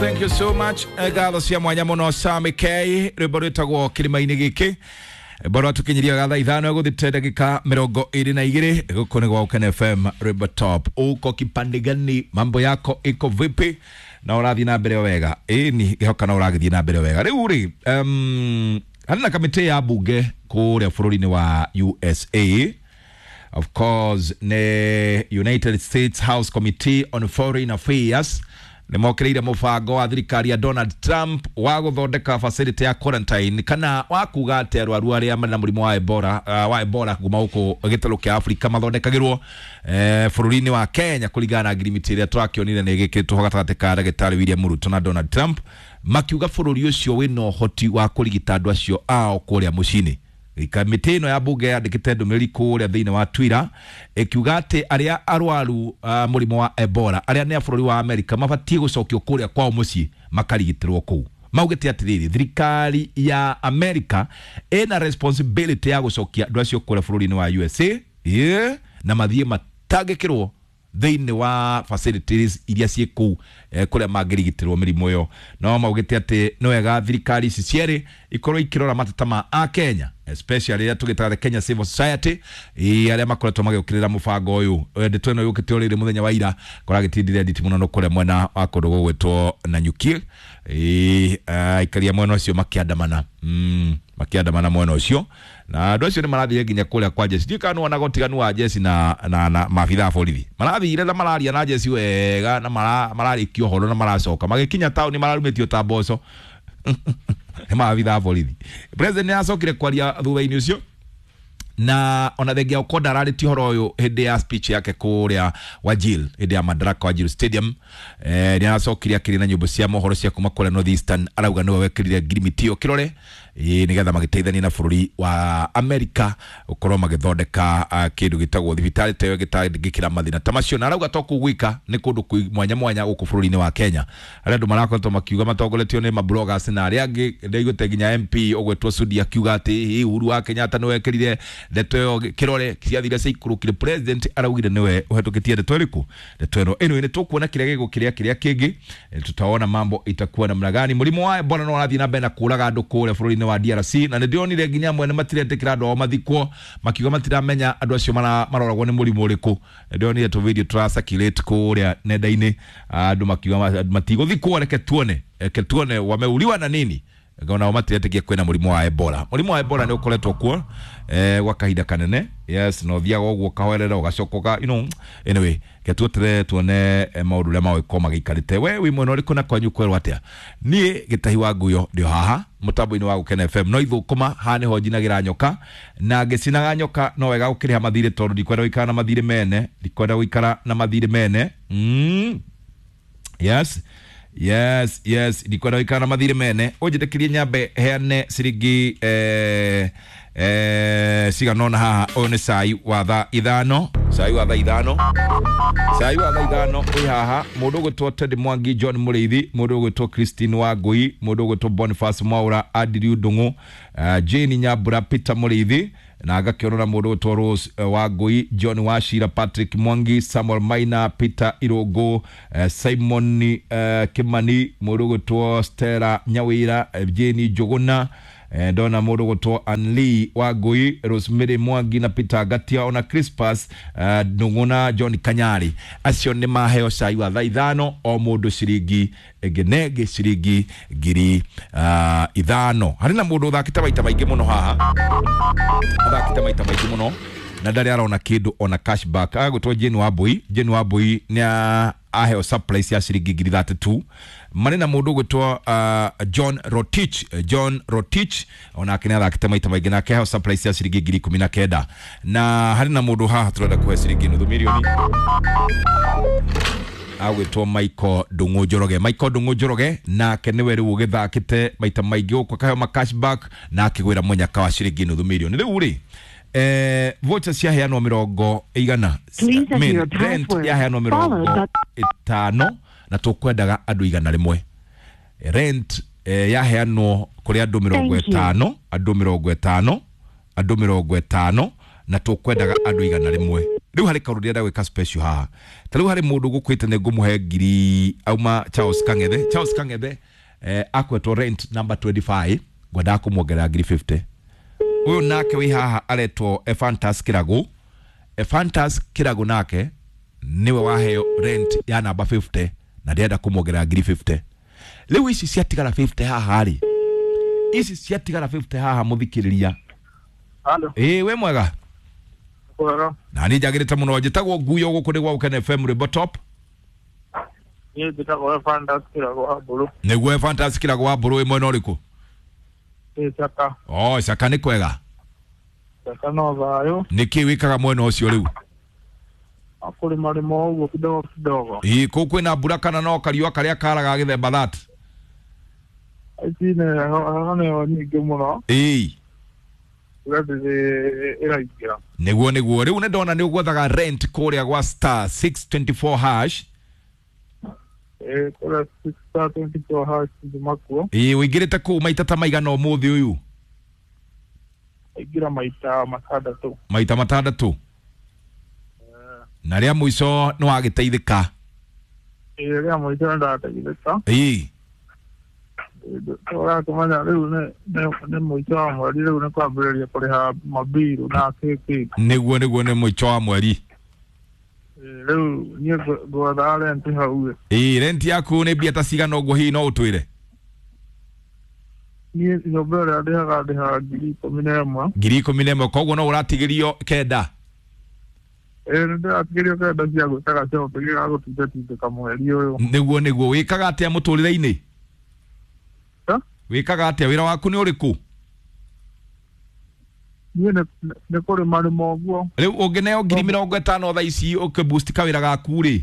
Thank you so much. Ngatho cia mwanya muno Sami K, rwimbo rwitagwo kirima-inĩ gĩkĩ. Rwimbo rwatũkinyiria ga thaa 5 gũthite ndagĩka 22. Gũkũ nĩ gwa Ũkene FM, rwimbo top. Uko kipande gani? Mambo yako iko vipi? Na ũrathiĩ na mbere wega? Ĩni ngĩhoka no ũragĩthiĩ na mbere wega. Rĩu rĩ, harĩ na kamĩtĩ ya bunge kũrĩa bũrũri-inĩ wa USA. Of course, nĩ United States House Committee on Foreign Affairs nĩ mokĩrĩire mũbango wa thirikari ya Donald Trump wa gũthondeka facility ya quarantine, kana wa kuga atĩ arwaru arĩa marĩ na mũrimũ wa Ebola, wa Ebola kuma gũkũ gĩtarũ kĩa Afrika mathondekagĩrwo bũrũri-inĩ wa Kenya kũringana na ngirimiti ĩrĩa tũrakĩonire nĩ ĩgĩkĩrĩtwo ho gatagatĩ ka ndagĩtarĩ William Ruto na Donald Trump, makiuga bũrũri ũcio wĩna ũhoti wa kũrigita andũ acio ao kũrĩa mũciĩ-inĩ. Kamĩtĩ ĩno ya bunge yandĩkĩte ndũmĩrĩri kũrĩa thĩinĩ wa Twitter ĩkiuga atĩ arĩa arwaru mũrimũ wa Ebola arĩa nĩ a bũrũri wa Amerika mabatiĩ gũcokio kũrĩa kwao mũciĩ makarigitĩrwo kũu. Maugĩte atĩrĩrĩ, thirikari ya Amerika ĩna responsibility ya gũcokia andũ acio kũrĩa bũrũri-inĩ wa USA, yeah, na mathiĩ matangĩkĩrwo thĩinĩ wa facilities iria ciĩ kũu kũrĩa mangĩrigitĩrwo mĩrimũ ĩyo. No maugĩte atĩ nĩ wega thirikari ici cierĩ ikorwo ikĩrora mateta ma a Kenya, especially arĩa tũgĩtaga the Kenya Civil Society, arĩa makoretwo magĩũkĩrĩra mũbango ũyũ. Ndeto ĩno yũkĩte o rĩrĩ mũthenya wa ira kũragĩtindire nditi mũno kũrĩa mwena wa kũndũ gũgwĩtwo Nanyuki. Aikaria mwena ũcio makĩandamana, makĩandamana mwena ũcio, na andũ acio nĩ marathire nginya kũrĩa kwa jeci. Ndiũĩ kana nĩwonaga ũtiganu wa jeci na maabithaa a borithi. Marathire na mararia na jeci wega na mararĩkia ũhoro na maracoka magĩkinya taũni mararumĩtio ta mboco nĩ maabithaa a borithi. President nĩ acokire kwaria thutha-inĩ ũcio, na ona thengia Okonda ararĩtie ũhoro ũyũ hĩndĩ ya speech yake kũrĩa Wajir, hĩndĩ ya Madaraka Wajir Stadium. Nĩ aracokire akĩrĩ na nyũmba cia mohoro cia kuma kũrĩa North Eastern, arauga nĩwe wekĩrire ngirimiti ĩyo kĩrore, nĩgetha magĩteithania na bũrũri wa Amerika gũkorwo magĩthondeka kĩndũ gĩtagwo thibitarĩ ta ĩyo gĩtangĩkĩra mathĩna ta macio. Na arauga to kũu gwika, nĩ kũndũ kwĩ mwanya mwanya gũkũ bũrũri-inĩ wa Kenya arĩa andũ marakoretwo makiuga matongoretio nĩ mabloggers na arĩa angĩ. Ndaiguĩte nginya MP ũgwĩtwo Sudi akiuga atĩ hihi Uhuru wa Kenyatta nĩwe wekĩrire ndeto ĩyo kĩrore, ciathire ciikũrũkire. President araugire nĩwe ũhetũkĩtie ndeto ĩrĩkũ, ndeto ĩno. Anyway, nĩ tũkuona kĩrĩa gĩgũkĩrĩa kĩrĩa kĩngĩ, tutaona mambo itakuwa namna gani. Mũrimũ wa Ebola no ũrathiĩ na mbere na kũraga andũ kũrĩa bũrũri-inĩ wa DRC, na nĩ ndĩronire nginya amwe nĩ matiretĩkĩra andũ ao mathikwo, makiuga matiramenya andũ acio maroragwo nĩ mũrimũ ũrĩkũ. Ndĩronire tũ video tũra circulate kũrĩa nenda-inĩ, andũ makiuga matigũthikwo, reke tuone, reke tuone wameuliwa na nini. Nao matiretĩkia kwĩna mũrimũ wa Ebola. Mũrimũ wa Ebola nĩ ũkoretwo kuo gwa kahinda kanene, yes, na ũthiaga ũguo ũkahoerera ũgacoka ũka, you know, anyway, ke tueterere tuone maũndũ ũrĩa magũgĩkorwo magĩikarĩte. We wĩ mwena ũrĩkũ na kwanyu kwerwo atĩa? Niĩ Gĩtahi wa Nguyo ndĩ haha mũtambo-inĩ wa Gũkena FM, no ithũkũma haha nĩho njinagĩra nyoka, na ngĩcinaga nyoka no wega gũkĩrĩha mathirĩ, tondũ ndikwenda gũikara na mathirĩ mene, ndikwenda gũikara na mathirĩ mene. Yes, yes, yes, ndikwenda gũikara na mathirĩ mene. Ũnjĩtĩkĩrie nyambe heane ciringi cigana ũna haha. Ũyũ nĩ cai wa thaa 5, cai wa thaa 5, cai wa thaa 5 wĩ haha. Mũndũ ũgwĩtwo Ted Mwangi, John Mũrĩithi, mũndũ ũgwĩtwo Christine Wangui, mũndũ ũgwĩtwo Boniface Mwaura, Andrew Ndung'u, Jane Nyambura, Peter Mũrĩithi, na ngakĩona na mũndũ ũgwĩtwo Rose Wangui, John Wachira, Patrick Mwangi, Samuel Maina, Peter Irũngũ, Simon Kimani, mũndũ ũgwĩtwo Stella Nyawĩra, Jane Njũgũna, ndona mũndũ ũgwĩtwo Anli Wangui, Rosemary Mwangi na Peter Ngatia, ona Crispas Ndung'u na John Kanyari. Acio nĩ maheo cai wa thaa 5, o mũndũ ciringi ĩngĩ na ĩngĩ ciringi 5,000. Harĩ na mũndũ ũthakĩte maita maingĩ mũno haha, athakĩte maita maingĩ mũno na ndarĩ arona kĩndũ ona cashback. Agagwĩtwo Jane Wambui. Jane Wambui nĩ aheo surprise ya ciringi 32,000. Marĩ na mũndũ ũgwĩtwo John Rotich. John Rotich onake nĩ athakĩte maita maingĩ nake aheo surprise ya ciringi 19,000. Na harĩ na mũndũ haha tũrenda kũhe ciringi 500,000, agwĩtwo Michael Ndung'u Njoroge. Michael Ndung'u Njoroge nake nĩwe rĩu ũgĩthakĩte maita maingĩ gũkũ akaheo ma cashback na akĩgwĩra mũnyaka wa ciringi 500,000. Rĩu rĩ, voucher ciaheanwo mĩrongo ĩigana, rent yaheanwo 50, na tũkwendaga andũ 100. Rent yaheanwo kũrĩ andũ 50, andũ 50, andũ 50, na tũkwendaga andũ 100. Rĩu harĩ kaũndũ ndĩrenda gwĩka special haha. Ta rĩu harĩ mũndũ gũkwĩte nĩ ngũmũhe ngiri auma Charles Kang'ethe. Charles Kang'ethe akwetwo rent number 25, ngwendaga kũmuongerera ngiri 50. Ũyũ nake wĩ haha aretwo Ephantas Kĩragũ. Ephantas Kĩragũ nake nĩwe waheo rent ya namba 50 na ndĩrenda kũmuongerera ngiri 50. Rĩu ici ciatigara 50 haha rĩ, ici ciatigara 50 haha mũthikĩrĩria. Halo. Ĩĩ wĩ mwega? Kwega. Na niĩ njagĩrĩte mũno. Njĩtagwo Nguyo, gũkũ nĩ gwa Gũkena FM Rwĩmbo Top. Niĩ njĩtagwo Ephantas Kĩragũ wa Mbũrũ. Nĩguo Ephantas Kĩragũ wa Mbũrũ, wĩ mwena ũrĩkũ? Ĩ Caka. Oh, Caka nĩ kwega. Caka no thayũ. Nĩkĩ wĩkaga mwena ũcio rĩu? Kũrĩma rĩma ũguo kidogo kidogo. Ĩĩ kũu kwĩna mbura kana no kariũa karĩa karaga gĩthemba that? Ici nĩ heho nĩyo nyingĩ mũno. Ĩĩ. Mbura ndĩrĩ ĩraingĩra. Nĩguo nĩguo. Rĩu nĩ ndona nĩ ũgwethaga rent kũrĩa gwa star 624 hash. Ĩ kũrĩa 624 hash njuma kuo. Ĩĩ ũingĩrĩte kũu maita ta maigana ũmũthĩ ũyũ? Aingĩra maita matandatũ. Maita matandatũ. Na rĩa mũico nĩ wagĩteithĩka? Ĩ rĩa mũico nĩ ndateithĩka. Ĩĩ. Ũrakĩmenya rĩu nĩ mũico wa mweri, rĩu nĩ kwambĩrĩria kũrĩha mabiru na kĩkĩ. Nĩguo nĩguo, nĩ mũico wa mweri. Rĩu niĩ ngwethaga rent hau. Ĩĩ rent yaku nĩ mbia ta cigana ũguo hihi no ũtwĩre? Niĩ nyũmba ĩrĩa ndĩhaga 11,000. 11,000, koguo no ũratigĩrio 9. Ĩĩ nĩ ndĩratigĩrio 9 cia gwĩka gacobi ga gũtindatindĩka mweri ũyũ. Nĩguo nĩguo. Wĩkaga atĩa mũtũrĩre-inĩ? Wĩkaga atĩa, wĩra waku nĩ ũrĩkũ? Niĩ nĩ kũrĩma rĩma ũguo. Rĩu ũngĩneo 50,000 thaa ici ũkĩboost kawĩra gaku rĩ?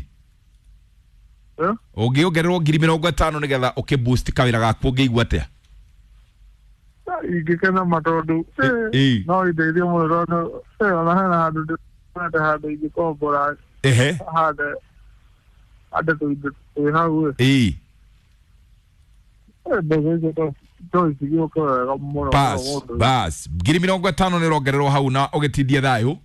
Ũngĩongererwo 50,000 nĩgetha ũkĩboost kawĩra gaku ũngĩigua atĩa? Ingĩkena ma tondũ no indeithie mũno tondũ ona hena handũ ndĩrenda handũ ingĩkombora. Ehe. Hande tũindo twĩ hau. Ĩĩ. Mbeca icio to cigĩũke wega mũno. Bas bas, 50,000 nĩ ũrongererwo hau na ũgĩtindie thayũ.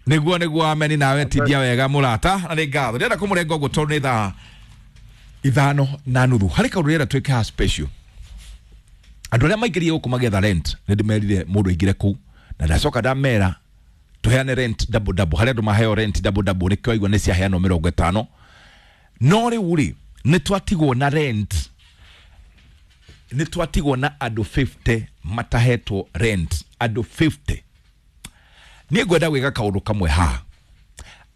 Nĩguo nĩguo, ameni nawe tindia wega mũrata, na nĩ ngatho. Ndĩrenda kũmũrenga ũguo tondũ nĩ thaa 5:30. Harĩ kaũndũ ndĩrenda twĩke haha special. Andũ arĩa maingĩrire gũkũ magĩetha rent, nĩ ndĩmerire mũndũ aingĩre kũu na ndacoka ndamera tũheane rent double double. Harĩ andũ maheo rent double double, nĩkĩo waigua nĩ ciaheanwo 50. No rĩu rĩ, nĩ twatigwo na rent, nĩ twatigwo na andũ 50 matahetwo rent, andũ 50. Niĩ ngwenda gwĩka kaũndũ kamwe haha.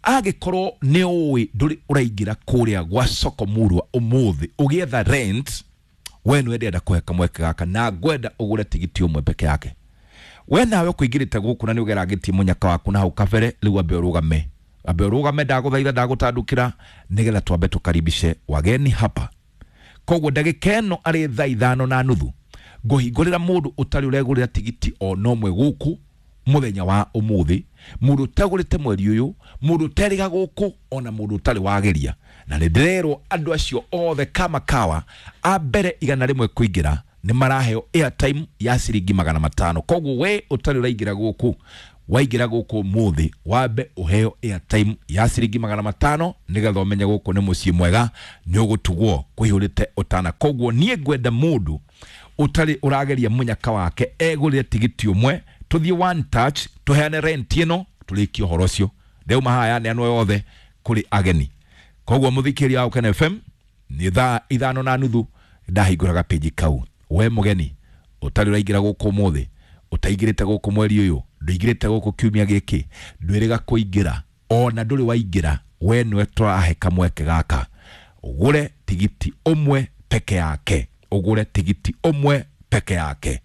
Angĩkorwo nĩ ũĩ ndũrĩ ũraingĩra kũrĩa gwa Soko Murwa ũmũthĩ ũgĩetha rent, we nĩwe ndĩrenda kũhe kamweke gaka na ngwenda ũgũre tigiti ũmwe peke yake. We nawe ũkũingĩrĩte gũkũ na nĩ ũgerangĩtie mũnyaka waku na hau kabere, rĩu ambe ũrũgame. Ambe ũrũgame, ndagũthaitha, ndagũtandũkĩra nĩgetha twambe tũkaribishe wageni hapa. Koguo ndagĩka ĩno arĩ thaa 5:30 ngũhingũrĩra mũndũ ũtarĩ ũregũrĩra tigiti ona ũmwe gũkũ mũthenya wa ũmũthĩ, mũndũ ũtagũrĩte mweri ũyũ, mũndũ ũterĩga gũkũ, ona mũndũ ũtarĩ wageria. Na nĩ ndĩrerwo andũ acio othe kama kawa a mbere 100 kũingĩra nĩ maraheo airtime ya ciringi 500. Koguo we ũtarĩ ũraingĩra gũkũ, waingĩra gũkũ ũmũthĩ wambe ũheo airtime ya ciringi 500 nĩgetha ũmenye gũkũ nĩ mũciĩ mwega, nĩ ũgũtugwo kũihũrĩte ũtana. Koguo niĩ ngwenda mũndũ ũtarĩ ũrageria mũnyaka wake egũrĩre tigiti ũmwe, tũthiĩ one touch, tũheane rent ĩno, tũrĩkie ũhoro ũcio. Ndauma haha yaneanwo yothe kũrĩ ageni. Koguo mũthikĩria wa Gũkena FM, nĩ thaa 5:30 ndahingũraga page kau. We mũgeni ũtarĩ ũraingĩra gũkũ ũmũthĩ, ũtaingĩrĩte gũkũ mweri ũyũ, ndũingĩrĩte gũkũ kiumia gĩkĩ, ndwĩrĩga kũingĩra, ona ndũrĩ waingĩra, we nĩwe tũrahe kamweke gaka. Ũgũre tigiti ũmwe peke yake. Ũgũre tigiti ũmwe peke yake.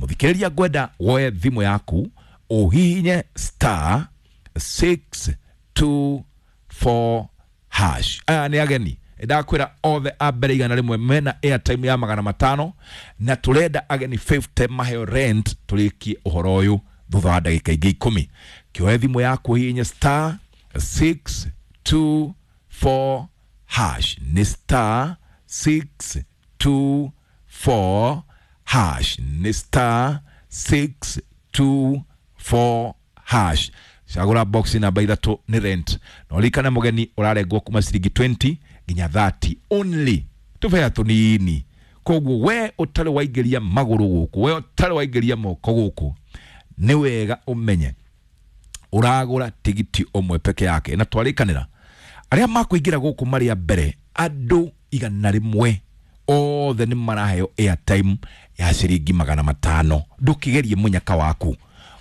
Mũthikĩrĩria, ngwenda woe thimũ yaku ũhihinye star 624 hash. Aya nĩ ageni ndakwĩra othe a mbere 100 mena airtime ya 500, na tũrenda ageni 50 maheo rent tũrĩkie ũhoro ũyũ thutha wa ndagĩka ingĩ 10. Kĩoe thimũ yaku ũhihinye star 624 hash. Nĩ star 624 hash. Nĩ star 624 hash. Cagũra box namba 3 nĩ rent. Na ũririkane mũgeni ũrarengwo kuma ciringi 20 nginya 30 only, tũbea tũnini. Koguo we ũtarĩ waingĩria magũrũ gũkũ, we ũtarĩ waingĩria moko gũkũ, nĩ wega ũmenye ũragũra tigiti ũmwe peke yake. Na twarĩkanĩra arĩa makũingĩra gũkũ marĩ a mbere andũ 100 othe nĩ maraheo airtime ya ciringi 500. Ndũkĩgerie mũnyaka waku,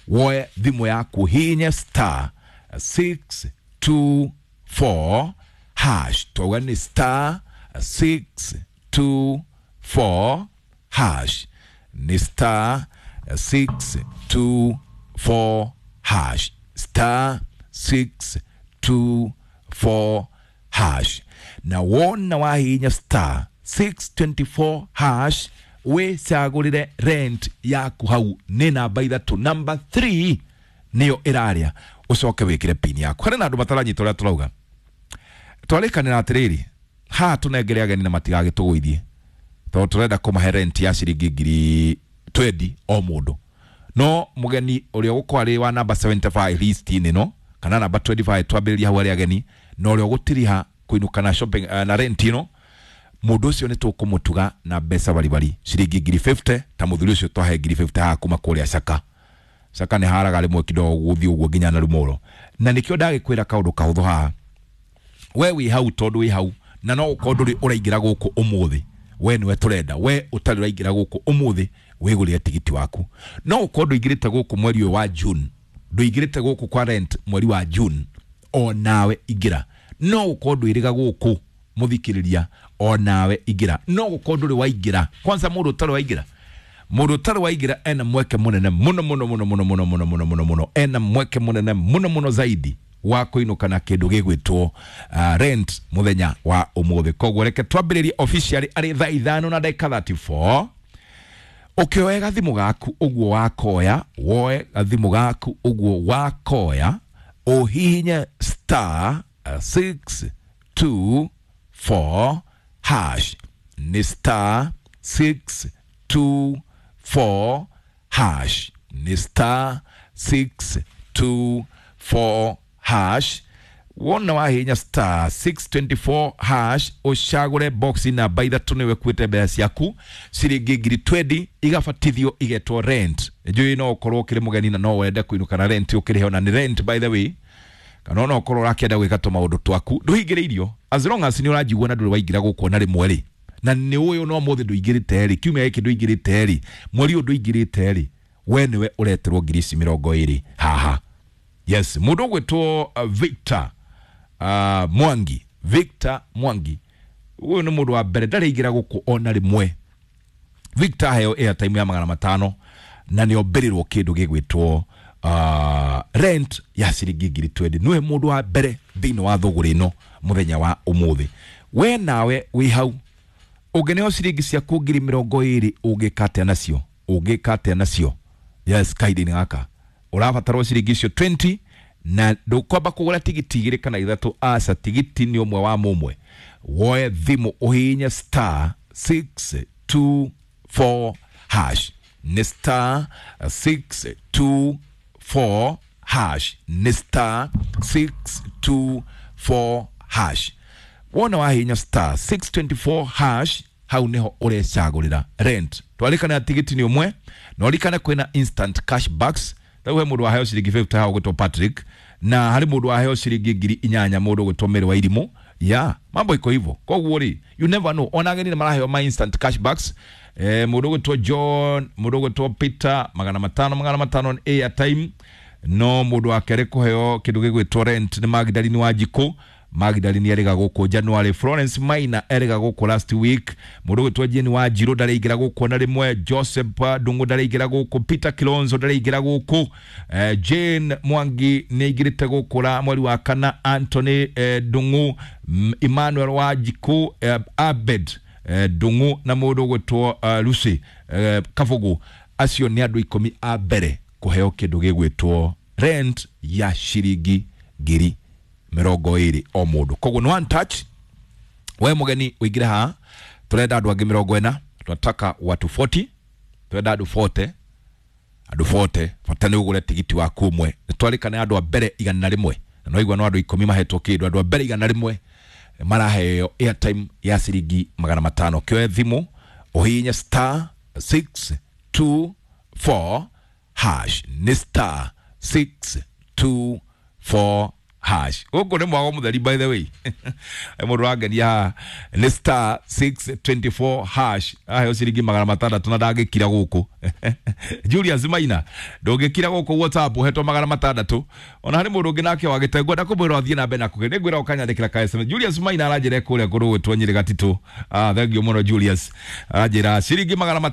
woe thimũ yaku hihinye star 624 hash. Twauga nĩ star 624 hash, nĩ star 624 hash, star 624 hash. Na wona wahihinya star 624 hash wĩcagũrĩre rent yaku hau nĩ namba 3, namba 3 nĩyo ĩrarĩa, ũcoke wĩkĩre pin yaku. Harĩ na andũ mataranyita ũrĩa tũrauga. Twarĩkanĩra atĩrĩrĩ, haha tũnengere ageni na matigagĩtũgũithie, tondũ tũrenda kũmahe rent ya ciringi ngiri 20 o mũndũ. No mũgeni ũrĩa ũgũkorwo arĩ wa namba 75 list-inĩ ĩno kana namba 25 twambĩrĩria hau arĩa ageni, na ũrĩa ũgũtiriha kũinũka na shopping na rent ĩno, mũndũ ũcio nĩ tũkũmũtuga na mbeca baribari ciringi ngiri 50. Ta mũthuri ũcio twahe ngiri 50 haha kuma kũrĩa Caka. Caka nĩ haraga rĩmwe kidogo gũthiĩ ũguo nginya na Rumoro. Na nĩkĩo ndagĩkwĩra kaũndũ kahũthũ haha, we wĩ hau tondũ wĩ hau na no ũkorwo ndũrĩ ũraingĩra gũkũ ũmũthĩ, we nĩwe tũrenda, we ũtarĩ ũraingĩra gũkũ ũmũthĩ wĩgũrĩre tigiti waku. No ũkorwo ndũingĩrĩte gũkũ mweri ũyũ wa June, ndũingĩrĩte gũkũ kwa rent mweri wa June, o nawe ingĩra. No ũkorwo ndwĩrĩga gũkũ mũthikĩrĩria, o nawe ingĩra. No gũkorwo ndũrĩ waingĩra, kwanza mũndũ ũtarĩ waingĩra, mũndũ ũtarĩ waingĩra ena mweke mũnene mũno mũno mũno mũno mũno mũno mũno mũno mũno, ena mweke mũnene mũno mũno zaidi wa kũinũka na kĩndũ gĩgwĩtwo rent mũthenya wa ũmũthĩ. Koguo reke twambĩrĩrie officially arĩ thaa 5 na ndagĩka 34. Ũkĩoe gathimũ gaku ũguo wakoya, woe gathimũ gaku ũguo wakoya, ũhihinye star 624 hash, nĩ star 624 hash, nĩ star 624 hash. Wona wahihinya star 624 hash ũcagũre box namba 3 nĩwe kuĩte mbeca ciaku ciringi ngiri 20 igabatithio igetwo rent. Njũĩ no ũkorwo ũkĩrĩ mũgeni na no wende kũinũka na rent ũkĩrĩhe ona nĩ rent by the way, kana no ũkorwo ũrakĩenda gwĩka tũmaũndũ twaku ndũhingĩrĩirio, as long as nĩ ũranjigua na ndũrĩ waingĩra gũkũ ona rĩmwe rĩ, na nĩ ũyũ no mũthĩ ndũingĩrĩte rĩ, kiumia gĩkĩ ndũingĩrĩte rĩ, mweri ũyũ ndũingĩrĩte rĩ, we nĩwe ũreterwo ngiri ici 20 haha. Yes, mũndũ ũgwĩtwo Victor Mwangi, Victor Mwangi ũyũ nĩ mũndũ wa mbere ndarĩ aingĩra gũkũ ona rĩmwe. Victor aheo airtime ya 500 na nĩ ombĩrĩrwo kĩndũ gĩgwĩtwo rent ya ciringi ngiri 20. Nĩwe mũndũ wa mbere thĩinĩ wa thũgũrĩ ĩno mũthenya wa ũmũthĩ. We nawe wĩ hau ũngĩneo ciringi ciaku ngiri 20 ũngĩka atĩa nacio? Ũngĩka atĩa nacio? Yes, kahinda-inĩ gaka ũrabatarwo ciringi icio 20 na ndũkwamba kũgũra tigiti 2 kana 3, aca, tigiti nĩ ũmwe wa mũmwe. Woe thimũ ũhihinye star 624 hash, nĩ star 624 hash, nĩ star 624 hash. Wona wahihinya star 624 hash hau niho ũrecagũrĩra rent. Twarĩkana tigiti nĩ ũmwe, na ũririkane kwĩna instant cash backs. Rĩu he mũndũ waheo ciringi 50 hau ũgwĩtwo Patrick, na harĩ mũndũ waheo ciringi ngiri 8 mũndũ ũgwĩtwo Mary wa Irimũ. Ya, mambo iko hivyo. Koguo rĩ, you never know, ona ageni nĩ maraheo ma instant cash backs. Mũndũ ũgwĩtwo John, mũndũ ũgwĩtwo Peter, 500 500 nĩ airtime. No mũndũ wa kerĩ kũheo kĩndũ gĩgwĩtwo rent nĩ Magdalene wa Njikũ. Magdalene erĩga gũkũ January, Florence Maina erĩga gũkũ last week, mũndũ ũgwĩtwo Jane wa Njirũ ndarĩingĩra gũkũ na rĩmwe, Joseph Ndung'u ndarĩingĩra gũkũ, Peter Kilonzo ndarĩingĩra gũkũ, Jane Mwangi nĩaingĩrĩte gũkũ ra mweri wa kana, Anthony Ndung'u, Emmanuel wa Njikũ, Abed Ndung'u na mũndũ ũgwĩtwo Lucy Kabugu. Acio nĩ andũ 10 a mbere kũheo kĩndũ gĩgwĩtwo rent ya ciringi ngiri 20 o mũndũ. Koguo nĩ one touch. We mũgeni ũingĩre haha, tũrenda andũ angĩ 40, tunataka watu 40, tũrenda andũ 40 Andũ 40 bata nĩ ũgũre tigiti waku ũmwe. Nĩ twarĩkana andũ a mbere 100, na no igua no andũ 10 mahetwo kĩndũ. Andũ a mbere 100 maraheo airtime ya ciringi 500. Kĩoe thimũ ũhihinye star 624 hash, nĩ star 624 hash. Gũkũ nĩ mwago mũtheri, by the way. Mũndũ wangenia haha nĩ star 624 hash, aheo ciringi 600 na ndangĩkira gũkũ. Julius Maina, ndũngĩkira gũkũ WhatsApp ũhetwo 600. Ona harĩ mũndũ ũngĩ nake wagĩte, ngwenda kũmwĩra athiĩ na mbere na kũgĩa, nĩngwĩra ũkanyandĩkĩra ka SMS. Julius Maina aranjĩra kũrĩa kũrũgwĩtwo Nyĩrĩ Gatitũ. Ah, thank you mũno Julius, aranjĩra ciringi 500.